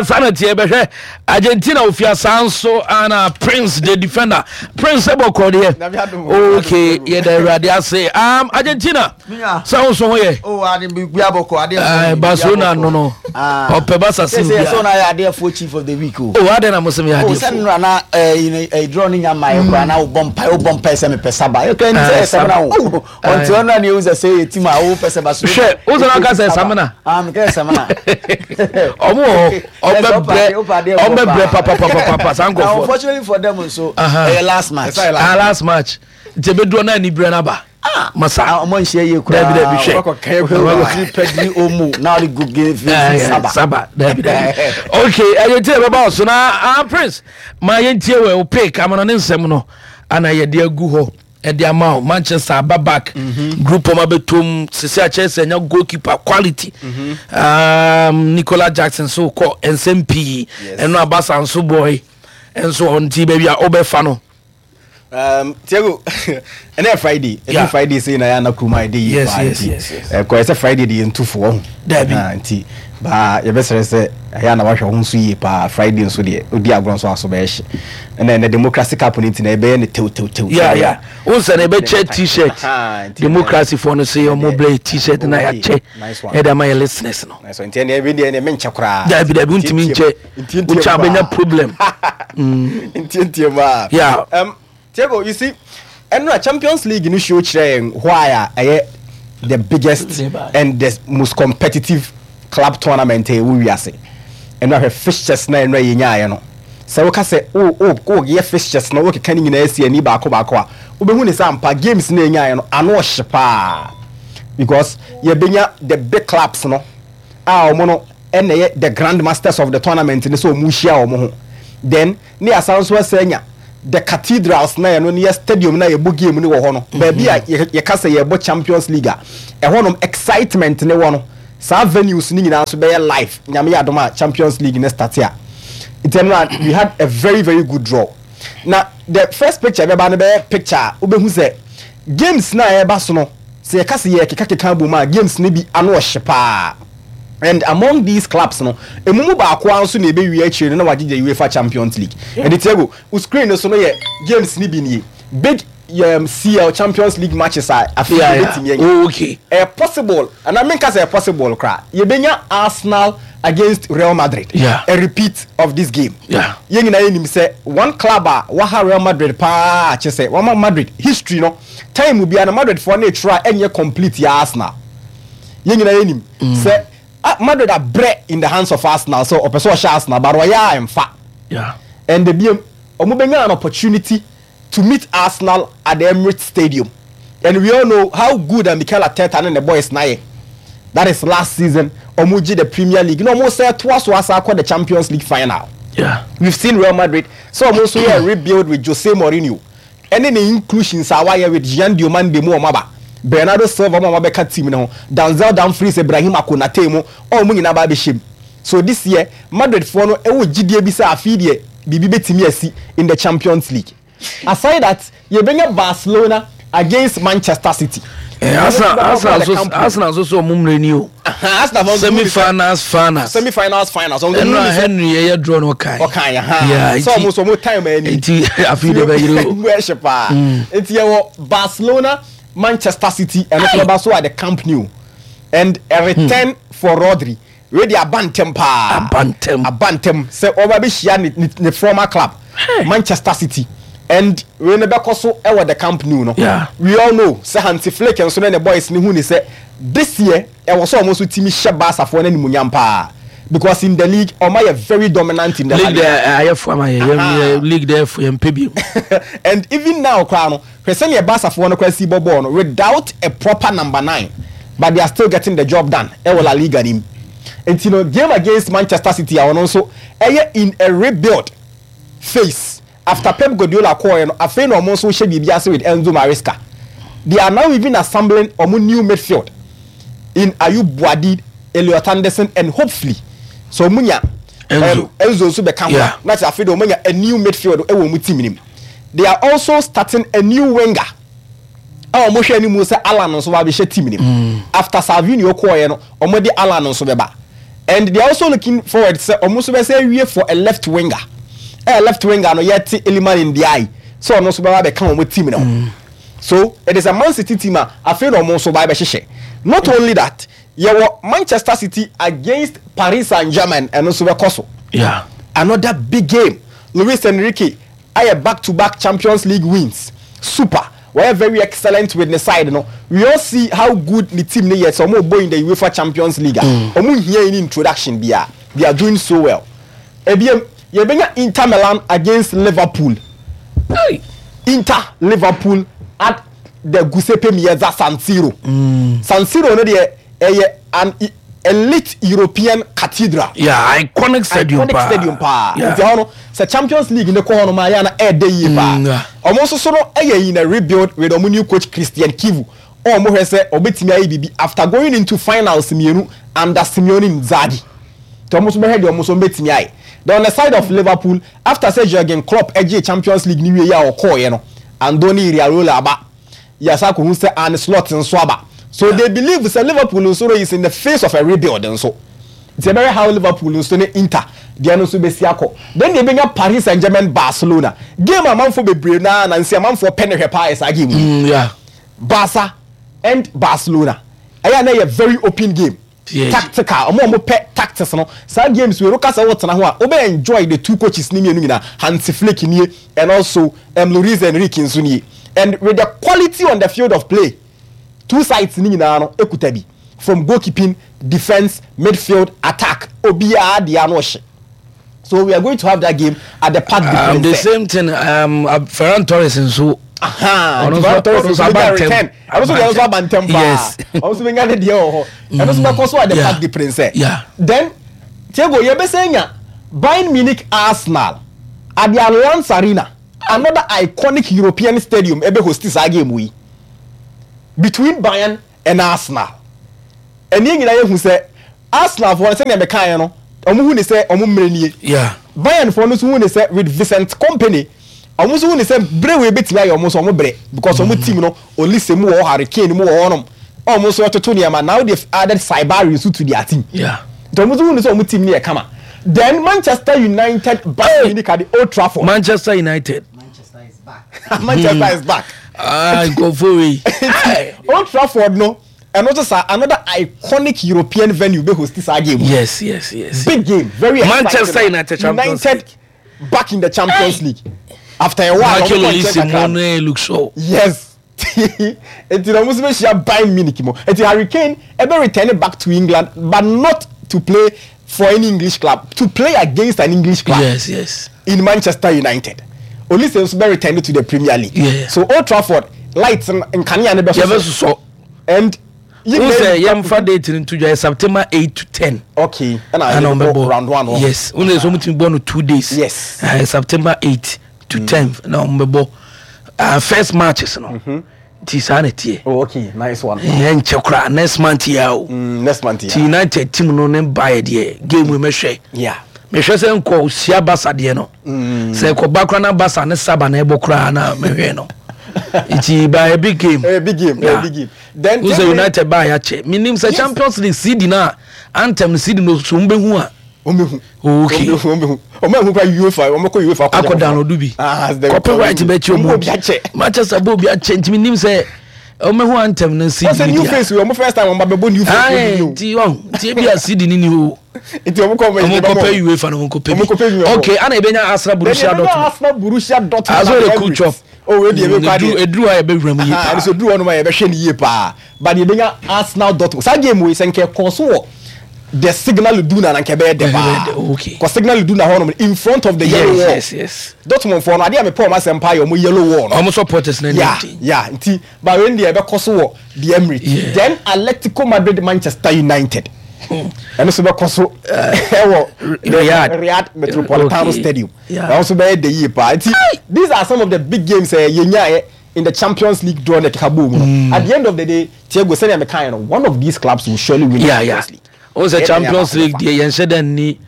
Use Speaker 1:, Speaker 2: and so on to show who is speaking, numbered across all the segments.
Speaker 1: Saa na teɛ bɛhwɛ Argentina ofia saa nso ana Prince the defender Prince ɛbɔ kɔ deɛ. Okay, yɛda Awurade ase. Argentina sɛ wo nso ho yɛ.
Speaker 2: Oh, ade bi bi abɔkɔ ade
Speaker 1: ɛfo. Barcelona no no.
Speaker 2: Ah.
Speaker 1: Ɔpɛ Barca sin
Speaker 2: Sɛ
Speaker 1: bia.
Speaker 2: sɛ na yɛ adeɛfoɔ chief of the week o.
Speaker 1: Oh, adɛn na mo sɛ meyɛ
Speaker 2: Oh, sɛ
Speaker 1: adeɛfoɔ?
Speaker 2: nnora na draw no nya mmaeɛ koraa na wobɔ mpae wobɔ mpae sɛ mepɛ saba. Yɛkura ni sɛ yɛ samina o. Ɔnti ɔno na ne ehu sɛ sɛ yɛ team a wopɛ sɛ Barcelona.
Speaker 1: Hwɛ, wo sɛ na ɔka sɛ samina.
Speaker 2: Ah, mekɛ sɛ samina.
Speaker 1: Ɔmo wɔ hɔ, ɔmo bɛbrɛ, ɔmo bɛbrɛ papapapapa saa
Speaker 2: Na
Speaker 1: nkorɔfoɔ.
Speaker 2: unfortunately for them nso,
Speaker 1: Aha.
Speaker 2: ɛyɛ last match.
Speaker 3: Ɛsɛ yɛ
Speaker 1: Ah, last match. Nti ebedu ɔno anibrɛ n'aba. Masa.
Speaker 2: Ah, ɔmo nhyia yie koraa.
Speaker 1: Dabi dabi hwɛ.
Speaker 3: Ɔkɔ kɛn
Speaker 2: Ɔkɔ kɔ Pedri Omo na ɔde gu game
Speaker 1: Eh,
Speaker 2: saba.
Speaker 1: Saba. Dabi dabi. Okay, ɛyɛ tie bɛba ɔso na ah Prince ma yɛntie wɔ o pick amana ne nsɛm no ana yɛde agu hɔ ɛde ama o Manchester aba back group ɔmo abɛtom sisi akyerɛ sɛ ɛnya goalkeeper quality Nicola Jackson so kɔ nsɛm pii ɛno abasa nso boy nso ɔnti baabi a ɔbɛfa no.
Speaker 3: Tiago, ɛnɛ yɛ Friday. Ɛdu Friday sei na yɛ ana kurom a ɛde yie paa nti. Ɛkɔyɛ sɛ Friday de yɛn tu fo ɔho.
Speaker 1: Dabi.
Speaker 3: Ah, nti baa yɛbɛsrɛ sɛ ɛyɛ ana wahwɛ ho nso yie paa. Friday nso deɛ odi agorɔ nso aso bɛyɛ hye. Ɛnɛ ɛnɛ democracy cup no nti na ɛbɛyɛ no tew tew tew.
Speaker 1: Yeah. Wo sɛ na ɛbɛkyɛ t-shirt. Democracy foɔ no sɛ ɔmo blɛ t-shirt na yɛakyɛ ɛde ama yɛ listeners no.
Speaker 3: Nice one. Nti ɛnɛ ɛbɛ deɛ ɛnɛ menkyɛ koraa.
Speaker 1: Dabi dabi wontumi nkyɛ. Wokyɛ abɛnya problem.
Speaker 3: Ntiantia mu a.
Speaker 1: Yeah.
Speaker 3: Tiago, you see, ɛno a Champions League no show kyerɛ yɛn why a ɛyɛ the biggest and the most competitive club tournament a ɛwɔ wiase. Ɛno ahwɛ fixtures na ɛno a yɛnyaeɛ no. Sɛ woka sɛ wo wo woyɛ fixtures na wokeka ne nyinaa si ani baako baako a, wobɛhu ne sɛ ampa games na yɛnyaeɛ no ano ɔhye paa. Because yɛbɛnya the big clubs no a wɔn no ɛna ɛyɛ the grand masters of the tournament no sɛ wɔn rehyia wɔn ho. Then ne yɛasan nso asan anya the cathedrals na ɛno ne yɛ stadium na yɛbɔ game no wɔ hɔ no. Baabi a yɛka sɛ yɛbɔ Champions League a, ɛhɔnom excitement ne wɔ no. Saa venues no nyinaa nso bɛyɛ live. Nyame yɛ adom a Champions League no start a. Nti ɛno a we had a very very good draw. Na the first picture ɛbɛba no bɛyɛ picture a wobɛhu sɛ games no a ɛreba so no, sɛ yɛka sɛ yɛrekekakeka abom a, games no bi ano ɔhye paa. And among these clubs no, emu mu baako ara nso na ɛbɛwie akyire no na wagye the UEFA Champions League. Ɛnti Tiago, wo screen no so no yɛ games no bi nie. Big CL Champions League matches a afei yɛbɛtumi anya.
Speaker 1: Oh, okay.
Speaker 3: Ɛyɛ possible, anaa menka sɛ ɛyɛ possible koraa, yɛbɛnya Arsenal against Real Madrid. A repeat of this game. Yɛn nyinaa yɛnim sɛ one club a waha Real Madrid paa kyɛ sɛ wama Madrid history no, time biara no Madridfoɔ no retwerɛ a ɛnyɛ complete yɛ Arsenal. Yɛn nyinaa yɛnim sɛ Madrid abrɛ in the hands of Arsenal sɛ ɔpɛ sɛ ɔhyɛ Arsenal but ɔyɛ a ɛmfa. And ebiem, wɔn bɛnya an opportunity to meet Arsenal at the Emirates Stadium and we all know how good a Mikel Arteta ne ne boys no ayɛ that is last season wɔn gye the Premier League na wɔn sɛ toa so asa akɔ the Champions League final. We've seen Real Madrid sɛ wɔn nso yɛ rebuild with Jose Mourinho ɛne ne inclusions a wayɛ with Jean Diomande mu wɔn aba Bernardo Silva mu a wɔabɛka team no ho Denzel Dumfries Ibrahima Konate mu a wɔn nyinaa ba abɛhyɛ mu. So this year Madrid foɔ no wɔ gyidie bi sɛ afei deɛ biribi bɛtumi asi in the Champions League. Aside that, yɛbɛnya Barcelona against Manchester City.
Speaker 1: Eh, Arsenal Arsenal nso Arsenal nso so ɔmo mmerɛ ni o.
Speaker 3: Arsenal fɔ
Speaker 1: Semi finals finals.
Speaker 3: Semi finals finals.
Speaker 1: Ɛnu a Henry yɛ draw no ɔkan.
Speaker 3: Ɔkan yɛ ha. Sɛ ɔmo nso ɔmo time ani.
Speaker 1: Nti afei de bɛ yiri o.
Speaker 3: Mu ɛhyɛ paa. Nti yɛ wɔ Barcelona Manchester City ɛno nso bɛba so at the Camp Nou and a return for Rodri. Wei deɛ aba ntɛm paa.
Speaker 1: Aba ntɛm.
Speaker 3: Aba ntɛm sɛ ɔba bɛhyia ne ne ne former club Manchester City and wei no bɛkɔ so wɔ the Camp Nou no.
Speaker 1: Yeah.
Speaker 3: We all know sɛ Hansi Flick nso ne ne boys no hu ne sɛ this year ɛwɔ sɛ wɔn nso tumi hyɛ Barcafoɔ no animuonyam paa because in the league wɔn ayɛ very dominant in the La
Speaker 1: League
Speaker 3: Liga.
Speaker 1: deɛ ayɛ fo ama yɛ yɛ league deɛ fo yɛn mpɛ bi.
Speaker 3: And even now koraa no hwɛ sɛdeɛ Barcafoɔ no koraa si bɔ bɔɔl no without a proper number nine but they are still getting the job done ɛwɔ La Liga no mu. Nti no game against Manchester City a ɔno nso ɛyɛ in a rebuild phase after Pep Guardiola kɔɔɛ no afei na ɔmo nso hyɛ biribi ase with Enzo Maresca. They are now even assembling ɔmo new midfield in Ayub Buadi, Elliot Anderson and hopefully sɛ ɔmo nya
Speaker 1: Enzo.
Speaker 3: Enzo nso bɛka ho a na kyerɛ afei de ɔmo anya a new midfield ɛwɔ ɔmo team no mu. They are also starting a new winger a wɔn hwɛ anim sɛ Alan nso ba abɛhyɛ team no mu. After Savinho kɔɔeɛ no, wɔn de Alan nso bɛba. And they are also looking forward sɛ ɔmo nso bɛsɛ awie for a left winger. Ɛyɛ left winger no yɛte Iliman Ndiaye sɛ ɔno nso bɛba abɛka wɔn team no ho. So it is a Man City team a afei na ɔmo nso ba abɛhyehyɛ. Not only that, yɛwɔ Manchester City against Paris Saint-Germain ɛno nso bɛkɔ so.
Speaker 1: Yeah.
Speaker 3: Another big game. Luis Enrique ayɛ back to back Champions League wins. Super. Wɔyɛ very excellent with ne side no. We all see how good ne team no yɛ sɛ ɔmo bɔ in the UEFA Champions League a. Ɔmo nhia any introduction biara. They are doing so well. Ebiem, yɛbɛnya Inter Milan against Liverpool.
Speaker 1: Hey.
Speaker 3: Inter Liverpool at the Giuseppe Meazza San Siro. San Siro no deɛ ɛyɛ an elite European cathedral.
Speaker 1: Yeah, iconic stadium
Speaker 3: iconic
Speaker 1: paa.
Speaker 3: stadium paa.
Speaker 1: Yeah.
Speaker 3: Nti ɛhɔ no sɛ Champions League ne kɔ hɔ no ma yɛ na ɛɛdɛ yie paa.
Speaker 1: Yeah.
Speaker 3: Ɔmo nso so no ɛyɛ in a rebuild with ɔmo new coach Christian Kivu. Ɔmo hwɛ sɛ ɔbɛtumi ayɛ biribi after going into finals mmienu under Simeone Inzaghi. Nti ɔmo nso bɛhwɛ deɛ ɔmo nso bɛtumi ayɛ. Then on the side of Liverpool, after sɛ Jurgen Klopp ɛgye Champions League ni wie yi a ɔkɔɔyɛ no, Andoni Iraola aba. Yasa akɔhu sɛ Arne Slot nso aba. So they believe sɛ Liverpool nso no is in the face of a rebuild nso. Nti ɛbɛhwɛ how Liverpool nso ne Inter deɛ no nso bɛsi akɔ. Then deɛ ɛbɛnya Paris Saint-Germain Barcelona. Game a amanfoɔ bebree naa na nsi amanfoɔ pɛ ne hwɛ paa yɛ saa game yi.
Speaker 1: Yeah.
Speaker 3: Barca and Barcelona. Ɛyɛ a na ɛyɛ very open game.
Speaker 1: Yeah.
Speaker 3: Tactical. Ɔmo a ɔmo pɛ tactics no. Saa games wei no kasa wɔ tena ho a wobɛ enjoy the two coaches ne mmienu nyinaa. Hansi Flick nie and also Luis Enrique nso nie. And with the quality on the field of play, two sides ne nyinaa no ekuta bi. From goalkeeping, defense, midfield, attack. Obiara deɛ ano ɔhyɛ. So we are going to have that game at the Parc des
Speaker 1: The
Speaker 3: Princes.
Speaker 1: same thing Ferran Torres nso.
Speaker 3: Aha,
Speaker 1: Ɔno
Speaker 3: nti
Speaker 1: nso-
Speaker 3: Ferran Torres
Speaker 1: ɔno nso
Speaker 3: nso
Speaker 1: aba
Speaker 3: bɛnya
Speaker 1: ntɛm.
Speaker 3: return. Ɔno nso deɛ ɔno nso aba ntɛm paa.
Speaker 1: Yes.
Speaker 3: Ɔno nso bɛnya ne deɛ wɔ hɔ. Ɛno nso bɛkɔ so at the Parc des Princes. Then Thiago yɛbɛsɛ nya Bayern Munich Arsenal at the Allianz Arena, another iconic European stadium ɛbɛ host saa game yi between Bayern and Arsenal. Ɛni nyinaa yɛhu sɛ Arsenal foɔ no sɛnea mɛkaeɛ no ɔmo hu ne sɛ ɔmo mmerɛ nie. Bayern foɔ no nso hu ne sɛ with Vincent Kompany ɔmo nso hu ne sɛ bere wei betumi ayɛ ɔmo nso ɔmo brɛ because ɔmo team no Olise mu wɔ hɔ, Harry Kane mu wɔ hɔnom, ɔmo nso ɛtoto nneɛma. Now they added Saibari nso to their team. Nti ɔmo nso hu ne sɛ ɔmo team no yɛ kama. Then Manchester United Bayern Munich at the Old Trafford.
Speaker 1: Manchester United.
Speaker 2: Manchester is back.
Speaker 3: Manchester is back.
Speaker 1: Ah, nkurɔfoɔ wei.
Speaker 3: Old Trafford no ɛno nso sa another iconic European venue bɛ host saa game.
Speaker 1: Yes.
Speaker 3: Big game, very exciting.
Speaker 1: Manchester United Champions
Speaker 3: United back in the Champions League after a while.
Speaker 1: Michael
Speaker 3: ɔmo kɔ
Speaker 1: Olise
Speaker 3: nkyɛn kakra.
Speaker 1: mu no look so.
Speaker 3: Yes, nti na ɔmo nso bɛhyia Bayern Munich mu. Nti Harry Kane ɛbɛ return back to England but not to play for any English club, to play against an English club in Manchester United. Olise nso bɛ return to the Premier League. So Old Trafford lights nkanea ne bɛ
Speaker 1: Yɛbɛsosɔ.
Speaker 3: And
Speaker 1: Wo sɛ yɛmfa date no nto dwa yɛ September 8 to 10.
Speaker 3: Okay, ɛna
Speaker 1: Ɛna
Speaker 3: yɛbɛbɔ
Speaker 1: ɔmbɛbɔ
Speaker 3: round one hɔ.
Speaker 1: Yes, wo sɛ ɔmutumi bɔ no 2 days.
Speaker 3: Yes.
Speaker 1: September 8 to 10 na ɔmbɛbɔ first matches no. Nti saa na ɛteɛ.
Speaker 3: Oh, okay, nice one.
Speaker 1: Ɛnkyɛ koraa, next month yɛ o.
Speaker 3: Next month.
Speaker 1: Ti United team no ne baeɛ deɛ, game wei mɛhwɛ. Mehwɛ sɛ nkɔ sia Barca deɛ no. Sɛ ɛkɔba koraa na Barca ne Saba na ɛbɔ koraa na mehwɛ no. Nti by a big game.
Speaker 3: A big game, a big game. Then
Speaker 1: Wo sɛ United baa yɛakyɛ. Menim sɛ Champions League CD no a anthem CD no so mbɛhu a.
Speaker 3: Ɔmbɛhu.
Speaker 1: Okay.
Speaker 3: Ɔmbɛhu. Ɔmo ehu kora UEFA, ɔmo kɔ UEFA
Speaker 1: akɔ download bi.
Speaker 3: Ah,
Speaker 1: copyright bɛkyi
Speaker 3: ɔmo
Speaker 1: ɔmo.
Speaker 3: obi akyɛ.
Speaker 1: Manchester bɔ obi akyɛ nti menim sɛ ɔmɛhu anthem no CD.
Speaker 3: Ɔsɛ new face wei, ɔmo first time ɔmo ba bɛbɔ new face
Speaker 1: Aye,
Speaker 3: wei ni o.
Speaker 1: nti ɔn nti ebi a CD ni ni o.
Speaker 3: Nti ɔmo kɔ
Speaker 1: Ɔmo kɔpɛ UEFA no, ɔmo kɔpɛ
Speaker 3: Ɔmo kɔpɛ
Speaker 1: bi.
Speaker 3: bi.
Speaker 1: Okay, ana ebenya Arsenal Borussia
Speaker 3: Then
Speaker 1: Dortmund.
Speaker 3: Arsenal Borussia Dortmund.
Speaker 1: Aso
Speaker 3: at
Speaker 1: de
Speaker 3: the
Speaker 1: cool
Speaker 3: Emirates.
Speaker 1: chop.
Speaker 3: Oh, wei deɛ ebe kɔ adeɛ.
Speaker 1: Eduru a yɛbɛwura mu yie
Speaker 3: Aha,
Speaker 1: paa.
Speaker 3: ɛno so duru hɔ nom a yɛbɛhwɛ no yie paa. But yɛbɛnya Arsenal Dortmund. Saa game wei sɛ nkɛ kɔ so wɔ the Signal Iduna na nkɛ bɛyɛ dɛ paa.
Speaker 1: Ɛbɛyɛ dɛ, okay.
Speaker 3: Kɔ Signal Iduna hɔ nom in front of the yellow wall. Dortmund foɔ no adeɛ a mepɛ ɔmo asɛm paa yɛ ɔmo yellow wall no.
Speaker 1: Ɔmo supporters na ɛni.
Speaker 3: Yeah, nti but wei deɛ ɛbɛkɔ so wɔ the Emirates. Then Atletico Madrid Manchester United. Ɛno nso bɛkɔ so ɛwɔ the
Speaker 1: Riyadh.
Speaker 3: Riyadh Metropolitano Stadium. Ɛno nso bɛyɛ de yie paa. Nti these are some of the big games yɛnyaeɛ in the Champions League draw na ɛkeka bɔɔ mu no. At the end of the day, Thiago, sɛnea mekaeɛ no, one of these clubs will surely win the Champions League.
Speaker 1: O sɛ
Speaker 3: Ɛyɛ
Speaker 1: Champions
Speaker 3: dɛn
Speaker 1: League
Speaker 3: abaako
Speaker 1: deɛ yɛnhyɛ dɛ nni.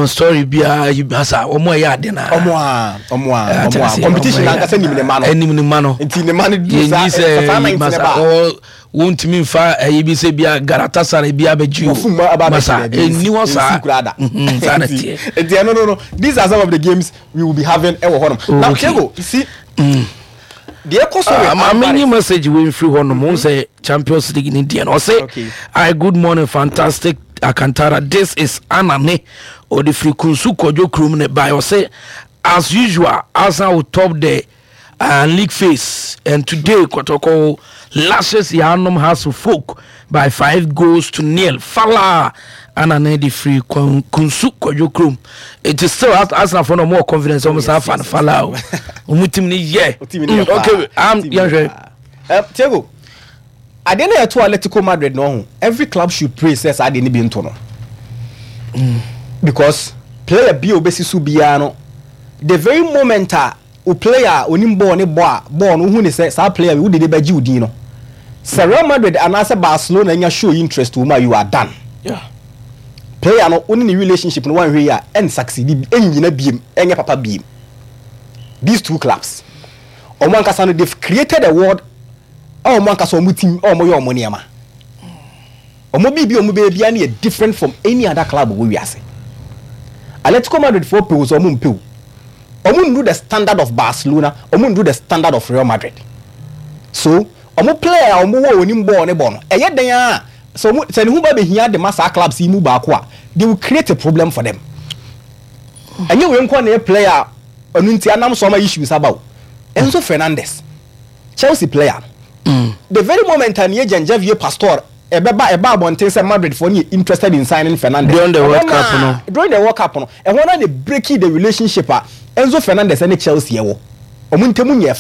Speaker 1: Story biara yi basa wɔn a ɛyɛ ade na.
Speaker 3: Ɔmo a ɔmo a ɔmo a competition ankasa nim ne ma no.
Speaker 1: Ɛnim ne ma no.
Speaker 3: Nti ne ma no du saa
Speaker 1: yɛnyi sɛ
Speaker 3: saa 19
Speaker 1: masa
Speaker 3: ba.
Speaker 1: ɔ wɔntumi nfa ɛyi bi sɛ bia Galatasaray bi abɛgye o.
Speaker 3: Wɔfum aba abɛgye
Speaker 1: masa
Speaker 3: daabi,
Speaker 1: ɛnni hɔ saa.
Speaker 3: nsi koraa da.
Speaker 1: Saa na teɛ.
Speaker 3: Nti ɛno no, these are some of the games we will be having ɛwɔ hɔnom. Now Diego, you see, deɛ ɛkɔ so with
Speaker 1: Maame
Speaker 3: Alvarez.
Speaker 1: nyi message wei mfiri hɔ nom sɛ Champions League ni deɛ no ɔse I good morning, fantastic Akantara, this is Anane ɔde firi Kunsu Kɔdwo kurom ne bae. Ɔse as usual, Arsenal will top the league phase, and today Kotoko lashes Yanom House of Folk by 5 goals to 0. Fala Anane de firi Kunsu Kɔdwo kurom. It is still Arsenal for no more confidence ɔmo saa fa no fala o, ɔmo team ni yɛ.
Speaker 3: Team ni yɛ paa.
Speaker 1: Okay,
Speaker 3: Team ni yɛ
Speaker 1: yɛhwɛ.
Speaker 3: paa. Diego, adeɛ no yɛto Atletico Madrid no ho, every club should pray sɛ saa adeɛ no bi nto no, because player bi a obɛsi so biara no, the very moment a o player a onim bɔɔl ne bɔ a bɔɔl no, wohu ne sɛ saa player bi wode de bɛgye wo din no, sɛ Real Madrid anaasɛ Barcelona nya show interest wɔ mu a, you are done. Player no, wo ne ne relationship no, wanhwɛ yi a, ɛn succeed, ɛnnyina biem, ɛnyɛ papa biem. These two clubs, ɔmo ankasa no, they've created a world a ɔmo ankasa ɔmo team a ɔmo yɛ ɔmo nneɛma, ɔmo biribi a ɔmo bɛyɛ biara no yɛ different from any other club wɔ wiase. Atletico Madrid foɔ pew sɛ ɔmo mpew, ɔmo ndu the standard of Barcelona, ɔmo ndu the standard of Real Madrid, so ɔmo player a ɔmo wɔ onim bɔɔl ne bɔ no, ɛyɛ den a sɛ ɔmo sɛ ne ho ba behia de ma saa clubs yi mu baako a, they will create a problem for them. Ɛnyɛ wei nko na yɛ player a ɔno nti anam so ama issues aba o. Enzo Fernandez, Chelsea player no, the very moment a ne agent Javier Pastore ɛbɛba ɛba abɔnten sɛ Madrid foɔ ne yɛ interested in signing Fernandez
Speaker 1: During the World
Speaker 3: ɛhɔ
Speaker 1: Cup no.
Speaker 3: During the World Cup no, ɛhɔ na ne breaking the relationship a Enzo Fernandez ɛne Chelsea ɛwɔ ɔmo ntɛmu nyɛ fa.